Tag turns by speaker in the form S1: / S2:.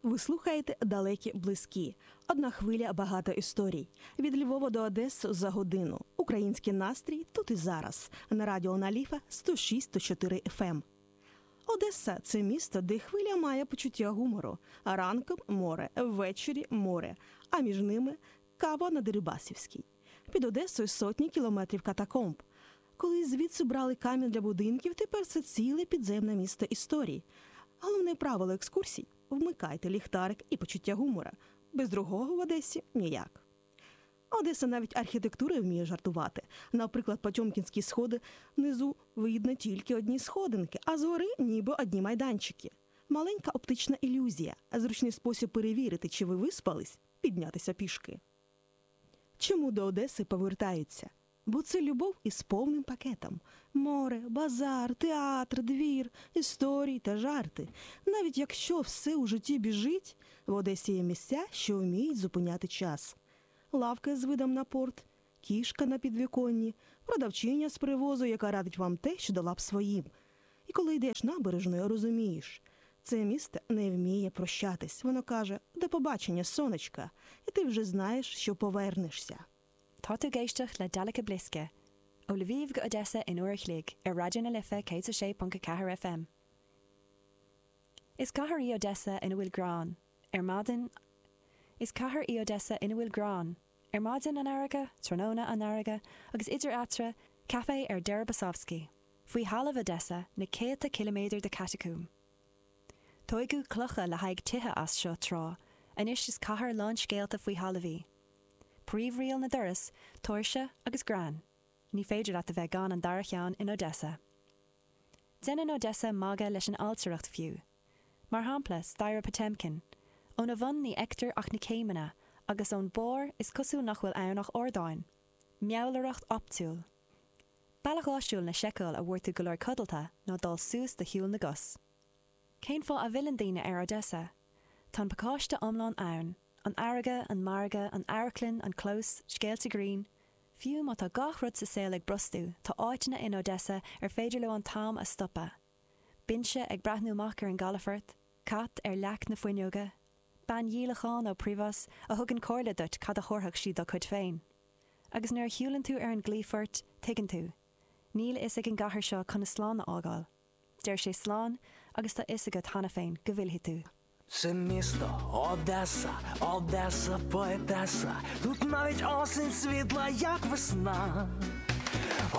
S1: Ви слухаєте Далекі близькі. Одна хвиля багато історій. Від Львова до Одеси за годину. Український настрій тут і зараз. На радіо Наліфа 106,4 FM. Одеса це місто, де хвиля має почуття гумору. А ранком море, ввечері море, а між ними кава на Дерибасівській. Під Одесою сотні кілометрів катакомб. Коли звідси брали камінь для будинків, тепер це ціле підземне місто історій. Головне правило екскурсій вмикайте ліхтарик і почуття гумора. Без другого в Одесі ніяк. Одеса навіть архітектурою вміє жартувати. Наприклад, Потьомкінські сходи внизу видно тільки одні сходинки, а згори ніби одні майданчики. Маленька оптична ілюзія, зручний спосіб перевірити, чи ви виспались, піднятися пішки. Чому до Одеси повертаються? Бо це любов із повним пакетом: море, базар, театр, двір, історії та жарти. Навіть якщо все у житті біжить, в Одесі є місця, що вміють зупиняти час. Лавка з видом на порт, кішка на підвіконні, продавчиня з привозу, яка радить вам те, що дала б своїм. І коли йдеш набережною, розумієш, це місто не вміє прощатись. Воно каже: до побачення, сонечка, і ти вже знаєш, що повернешся.
S2: Tá tú ag éisteacht le Daleky Bliskie, ó Lviv go Odessa in uair a chloig ar Raidió na Life 106.4 FM. Is cathair í Odessa ina bhfuil greann. Ar maidin Is cathair í Odessa ina bhfuil greann. Ar maidin, an fharraige, tráthnóna, an fharraige, agus idir eatarthu, caife ar Deribasovsky. Faoi thalamh Odessa, na céadta ciliméadar de chatacómb. Tóigeadh clocha le haghaidh tithe as seo tráth, anois is cathair lán scéalta faoi thalamh í. Príomhriail na dturas, tóirse agus greann. Ní féidir leat a bheith gan an dara cheann in Odessa. Déanann Odessa magadh leis an ailtireacht fiú. Mar shampla, staighre Potemkin. Óna bhun ní fheictear ach na céimeanna, agus ón barr is cosúil nach bhfuil ann ach ardáin. Meabhlaireacht optúil. Bealach áisiúil le seiceáil an bhfuair tú go leor codlata ná dul suas de shiúl na gcos. Cén fáth a bhfilleann daoine ar Odessa? Tá an pacáiste iomlán ann, an fharraige, an margadh, an amharclann, an clós, scéalta grinn. Fiú má tá gach rud sa saol ag brostú, tá áiteanna in Odessa ar féidir leo an t-am a stopadh. Binse ag breathnú amach ar an gcalafort, cat ar leac na fuinneoige, bean dhíolacháin ó Privoz a thugann comhairle duit cad a thabharfadh sí dá cuid féin. Agus nuair a shiúlann tú ar an gclaífort, tuigeann tú. Níl a fhios ag an gcathair seo conas slán a fhágáil. Deir sé slán agus tá fhios agat cheana féin go bhfillfidh tú.
S3: Це місто Одеса, Одеса, поетеса. Тут навіть осінь світла, як весна.